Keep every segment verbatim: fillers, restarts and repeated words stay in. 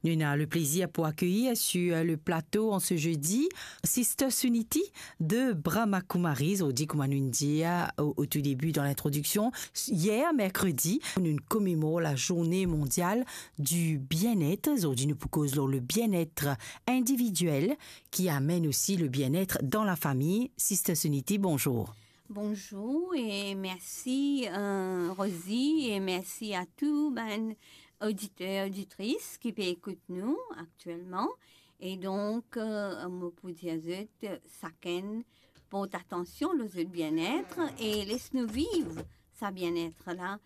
Nous avons le plaisir pour accueillir sur le plateau en ce jeudi Sister Suniti de Brahma Kumaris. Zordi, kouma nou inn dir o, o tou debi dan lintrodiksion, yer merkredi, nou komemor la Journée Mondiale du Bien-être. Zordi nou pou koz lor le bien-être individuel qui amène aussi le bien-être dans la famille. Sister Suniti, bonjour. Bonjour e mersi, euh, Rosie, e mersi a tou bann oditer, oditris ki pe ekout nou aktielman. E donk, euh, mo pou dir zot, sakenn port atansion lor zot bien-être e les nou viv sa bien-être la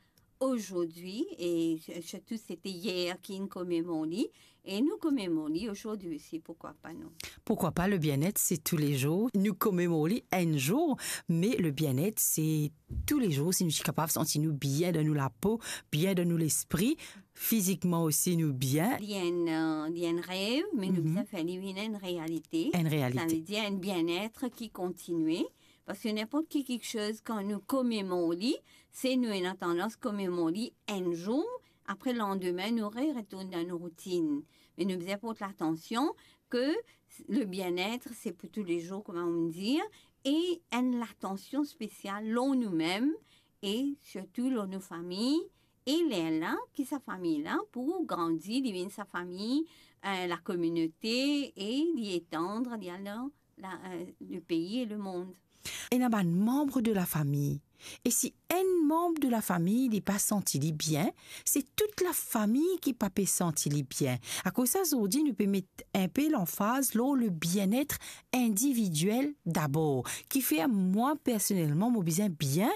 azordi, e sirtou se te yer ki inn komemor li, e nou komemor li azordi osi, pourquoi pas non? Pourquoi pas, le bien-être, c'est tous les jours. Nou komemor li enn zour, me le bien-être, c'est tous les jours. Si nou ti kapav santi nou bien dan nou lapo, bien dan nou lespri, fizikman osi nou bien. Li enn, euh, li enn rev, me nou Mhm. bizin fer li vinn enn realite. Enn realite. Savedir enn bien-être ki kontinie. Parski ninport ki kiksoz, kan nou komemor li, se nou ena tandans komemor li enn zour, apre landime nou re retourn dan nou routinn. Me nou bizin port latansion ke le bien-être, se pou tou le zour, kouma nou dir, e enn latansion spesial lor noumem, e sirtou lor nou fami, e lerla ki sa fami la pou grandi, li vinn sa fami, euh, lakominote, e li etand, li al dan la, euh, le pays et le monde. Ena bann manb de lafami. E si enn manb de lafami li pa santi li bien, se tout lafami ki pa pe santi li bien. Akoz sa, zordi nou pe met inpe lanfaz lor le bien-être individuel dabor. Kifer mwa, personelman, mo bizin bien